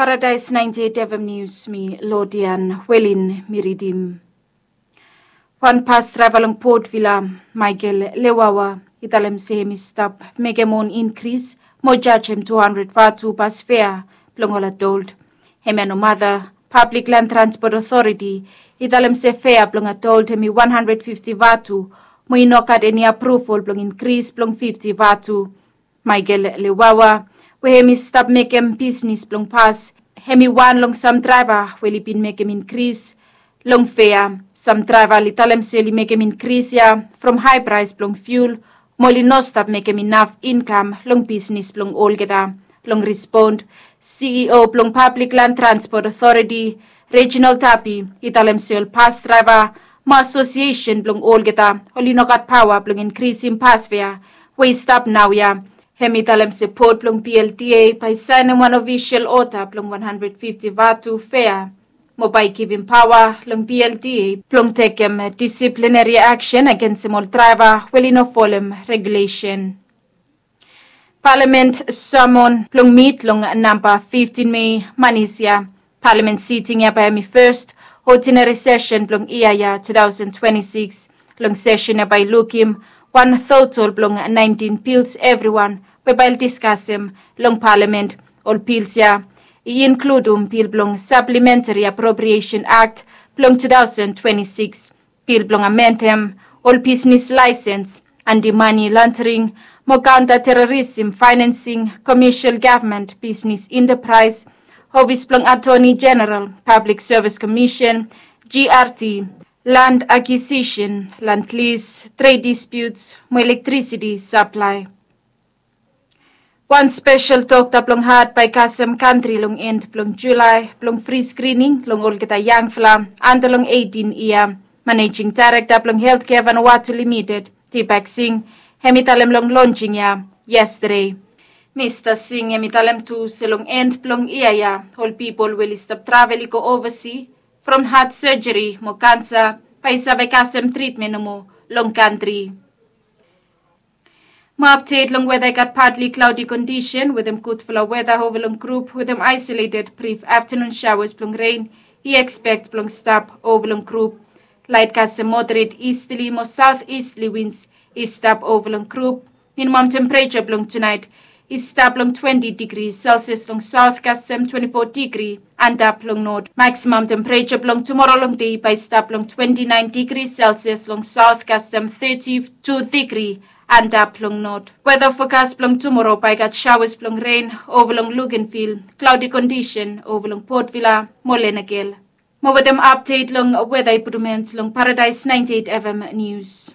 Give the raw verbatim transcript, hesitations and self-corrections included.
Paradise ninety-eight F M News, mi Lodian Welin mi ridim. Wan pas draeva long Port Vila, Michael Lewawa, i talem se hem i stap mekem on inkris mo jajem two hundred vatu pas fea blong ol adolt. Hemia no mata, Public Land Transport Authority i talem se fea blong adolt hem i one hundred fifty vatu, mo i no gat eni apruval blong inkris blong fifty vatu. Michael Lewawa, we hem i stap mekem bisnis blong pas, hem i wan long sam draeva we oli bin mekem inkris long fea. Sam draeva oli talem se oli mekem inkris ya from hae praes blong fiul, mo oli no stap mekem inaf inkam long bisnis blong olgeta. Long respond, C E O blong Public Land Transport Authority, Reginald Tapi, i talem se ol pas draeva mo asosiesen blong olgeta oli no gat paoa blong inkrisim pas fea we i stap naoia. Hem i talem se bot blong P L D A bae saenem wan ofisol oda blong one hundred fifty vatu fea, mo bae givim paoa long P L D A blong tekem disiplineri aksen agensem ol draeva we oli no folem regulesen. Palamen samon blong mit long namba fiftin Mei, Manis ya. Palamen siting ya bae hem i fes odineri sesen blong yia ya two thousand twenty-six. Long sesen ya bae i lukim wan totol blong nineteen bils evriwan we bae oli diskasem long palamen. Ol bils ya i inkludum bil blong Supplementary Appropriation Act blong two thousand twenty-six, bil blong amendem ol bisnis laesens, anti-mani londering mo kaonta terorism faenansing, komesial gavman bisnis entapraes, ofis blong Atoni Jeneral, Pablik Sevis Komisen, G R T, land akwisisin, land lis, tred dispiuts mo elektrisiti saplae. Wan spesel dokta blong hat bae i kasem kantri long en blong Julae blong fri skrining long olgeta yangfala anda long eitin yia. Manejing daerekta blong Heltkea Vanuatu Limited, Deepak Singh, hem i talem long lonjing ya yestade. Mista Singh hem i talem tu se long en blong yia ya ol pipol we oli stap travel i go ovasi from hat sejeri mo kansa bae i save kasem tritmen nomo long kantri. Mo apdet long weda, i gat patli klaodi kondisen wetem gudfala weda ova long grup wetem aesoleted brif aftanun saoas blong ren i ekspek blong stap ova long grup. Laet kasem moderet istli mo saotistli wins i stap ova long grup. Minimam tempereja blong tunaet i stap long twenti digri Selsias long saot kasem twenti fo digri antap long not. Maksimam tempereja blong tumoro long dei bae i stap long twenti naen digri Selsias long saot kasem teti tu digri antap long not. Weda fokas blong tumoro bae i gat saoas blong ren ova long Luganville, klaodi kondisen ova long Port Vila mo Lenakel. Mo wetem apdet long weda i putum en long Paradise ninety-eight F M News.